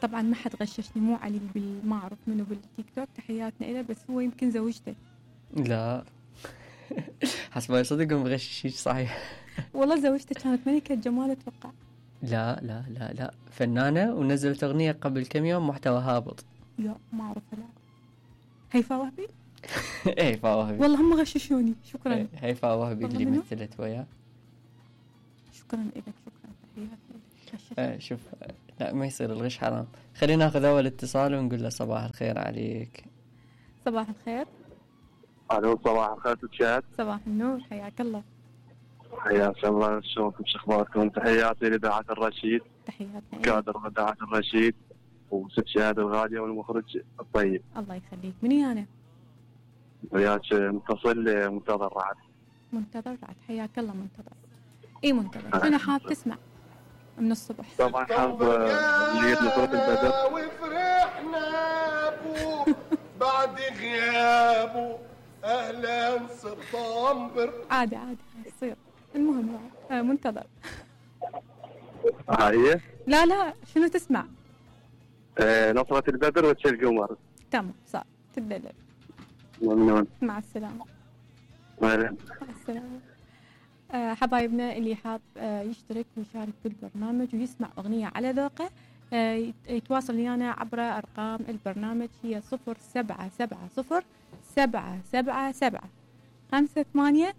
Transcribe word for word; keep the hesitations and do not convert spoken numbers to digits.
طبعا ما حد غششني، مو علي بال- ما اعرف منو بالتيك توك، تحياتنا له، بس هو يمكن زوجته. لا حسب ما يصدق مغششيش صحيح. والله زوجته كانت ملكة جمال اتوقع. لا لا لا لا فنانة ونزلت أغنية قبل كم يوم محتوى هابط. لا ما اعرف. لا هيفاء وهبي. هيفاء وهبي والله هم غششوني. شكرا. هيفاء وهبي اللي منو؟ مثلت وياه. شكرا لك. شكرا. تحياتي. آه شوف، لا ما يصير الغش حرام. خلينا ناخذ أول اتصال ونقول له صباح الخير عليك. صباح الخير. الو صباح الخير تشات. صباح النور، حياك الله. حياك الله، شلونكم شو اخباركم؟ تحياتي لدعاة الرشيد، تحياتنا. كادر دعاة الرشيد وست شهادة الغالية والمخرج الطيب. الله يخليك. مني انا؟ وياك متصل منتظر رعد. منتظر رعد، حياك الله منتظر. اي منتظر. شنو حاب تسمع من الصبح؟ طبعا حاب اللي نصرة البدر. وفرحنا بو بعد غيابه، اهلا صرت انبر. عادي عادي يصير. المهم آه منتظر. هاي لا لا شنو تسمع؟ آه نصرة البدر وتشي القمر. تمام صار تدلل. ممنون. مع السلامة. مهلا. مع السلامة. آه حبايبنا اللي حاب آه يشترك ويشارك بالبرنامج ويسمع أغنية على ذوقه آه يتواصل ويانا عبر أرقام البرنامج، هي صفر سبعة سبعة صفر سبعة سبعة سبعة خمسة ثمانية